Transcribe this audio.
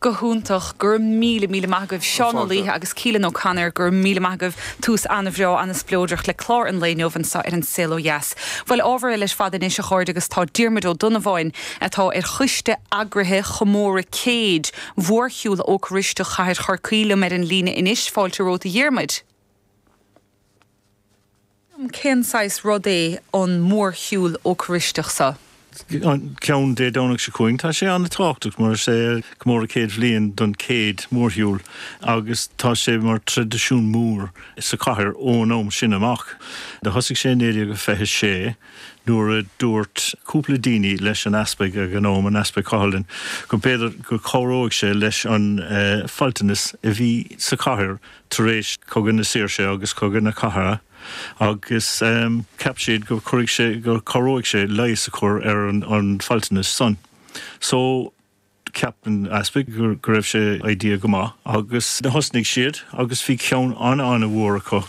Go hiontach. Go raibh míle, míle maith agaibh Seán Ó Laoithe agus Keelan O'Connor. Go raibh míle maith agaibh. Tús an-bhreá, an-spleodrach le clár an lae inniu anseo ar An Saol Ó Dheas. Bhuel, ábhar eile ar fad anois, a chairde, agus tá Diarmuid Ó Donnabháin, atá ar choiste eagraithe chomóradh céid Mhórshiúl Eocairisteach Chathair Chorcaí liom ar an líne anois. Fáilte romhat a Dhiarmuid. Cén saghas rud é an mórshiúl Eocairisteach seo? An ceann Dé Domhnaigh seo chugainn, tá sé an-tábhachtach mar is é comóradh 100 bhliain don chéad mhórshiúl agus tá sé mar traidisiún mór sa chathair ón am sin amach. Do thosaigh sé i 1926 nuair a dúirt cúpla daoine leis an easpag ag an am, an Easpag Coghlan, go b'fhéidir go cabhróidh sé leis an faltanas a bhí sa chathair tar éis Cogadh na Saoirse agus Cogadh na Cathartha agus cheap siad go cuirfidh sé, go cabhróidh sé leigheas a chur ar an faltanas san. So cheap an easpag go raibh sé idea go maith agus thosnaigh siad agus bhí ceann an-an-mhór acu.